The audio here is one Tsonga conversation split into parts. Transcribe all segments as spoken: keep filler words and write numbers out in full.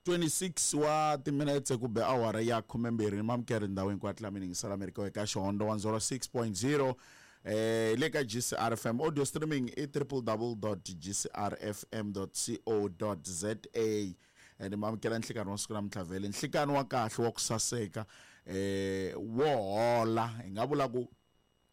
twenty-six wa timinetse ku be awara ya khumembirhi mamukeri ndhawu hinkwayo tla mi yingisela Amerika eka Xihondzo one zero six point zero eh le ka G C R F M audio streaming i triple double dot G C R F M dot C O dot Z A. Ni mamukela nhlikani wa siku namuntlha vhele nhlikani wa kahle wa ku saseka eh wo hola hi nga vula ku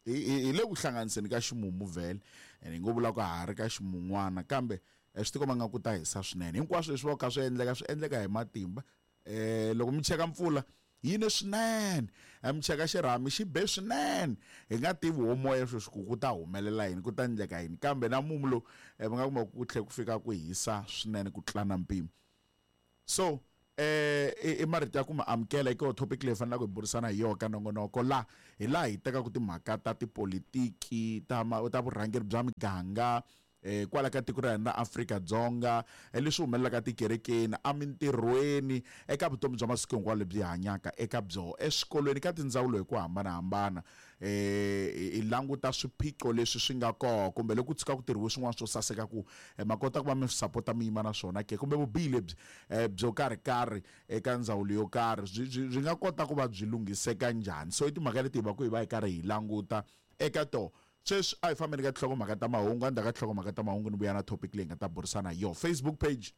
hi le ku hlanganiseni ka ximumu vhele ene hi ngo vula ku ha ri ka ximun'wana kambe swi tikomba nga ku ta hisa swinene hinkwaswo leswi va ka swi endleka swi endleka hi matimba eh loko mi cheka mpfula yi ne swinene mi cheka xirhami xi be swinene hi nga tivi wo moya sweswi ku ku ta humelela yini ku ta endleka yini kambe na mumu lowu mi nga kuma ku tlhe ku fika ku hisa swinene ku tlula na mpimo so eh i marito ya ku ma amukela eka topic leyi fanelaka hi burisana hi yona ka nongonoko la hi laha hi tekaka timhaka ta tipolitiki ta ta vurhangeri bya miganga eh kwala ka tiko ra hina ra Afrika-Dzonga leswi humelelaka tikerekeni emintirhweni eka vutomi bya masiku hinkwawo lebyi hanyaka eka byo eswikolweni ka tindzawulo hi ku hambanahambana eh hi languta swiphiqo leswi swi nga kona kumbe loko ku tshuka ku tirhiwe swin'wana swo saseka ku ma kota ku va mi sapota mi yima na swona ke kumbe vubihi lebyi byo karhi karhi eka ndzawulo yo karhi byi byi nga kota ku va byi lunghiseka njhani so i timhaka leti hi va ku hi va hi karhi hi languta eka to sweswi a hi fambeni ka tinhlokomhaka ta mahungu endzhaku ka tinhlokomhaka ta mahungu ni vuya na topic leyi nga ta burisana hi yona Facebook page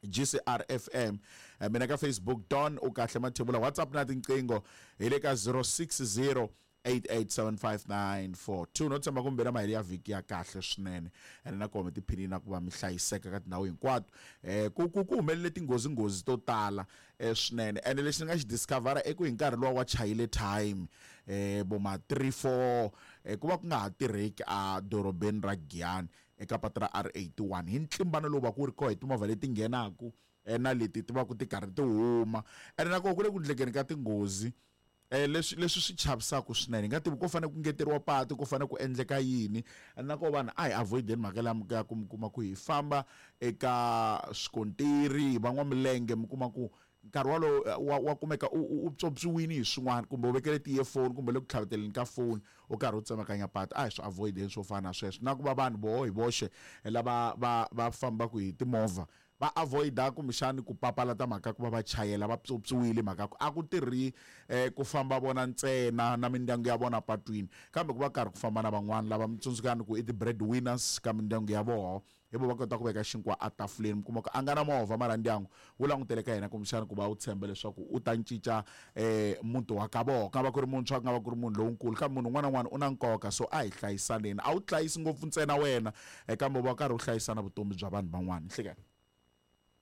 G C R F M mina ka Facebook Don u kahle Mathebula WhatsApp na tinqingho hi le ka zero six zero eight eight seven five nine four two no tshemba kumbe na maheli ya vhiki ya kahle swinene ene na kona mi tiphini na ku va mi hlayiseka ka tindhawu hinkwato eh ku ku ku humelele tinghozi nghozi to tala eh swinene ene lexi ni nga xi discovera i ku hi nkarhi luwa wa chayile time eh bo ma three four eh ku va ku nga ha tirheki a dorobeni ra Giyani eka patu ra R eighty-one hi ntlimbano lowu va ku ri kona hi timovha leti nghenaku na leti ti va ku ti karhi ti huma ene na kona ku le ku ndlekeni ka tinghozi eh leswi leswi swi chavisaka swinene hi nga tivi ku fanele ku ngeteriwa patu ku fanele ku endleka yini na ko vanhu a hi avoideni mhaka liya ya ku mi kuma ku hi famba eka swikontiri van'wamilenge mi kuma ku nkarhi walowo wa wa kumeka u u pyopyiwini hi swin'wana kumbe u vekele ti-earphone kumbe le ku tlhaveteleni ka phone u karhi u tsemakanya patu a hi swi avoideni swo fana na sweswo na ku va vanhu voho hi voxe lava va va fambaka hi timovha va avoida kumbexani ku papalata mhaka ku va va chayela va pyopyiwile mhaka ku a ku tirhi eh, ku famba vona ntsena na mindyangu ya vona patwini kambe ku va karhi ku famba na van'wana lava mi tsundzukani ku i ti-bread winners ka mindyangu ya voho hi vo va kota ku veka xinkwa etafuleni mi kuma ku a nga na movha mara ndyangu wu langutele ka yena kumbexani ku va wu tshemba leswaku u ta cinca eh, muti wa ka voho ku nga va ku ri muntshwa ku nga va ku ri munhu lonkulu kambe munhu un'wana na un'wana u na nkoka so a hi hlayisaneni a wu hlayisi ngopfu ntsena wena kambe u va karhi u hlayisa na vutomi bya vanhu van'wana nhlekani.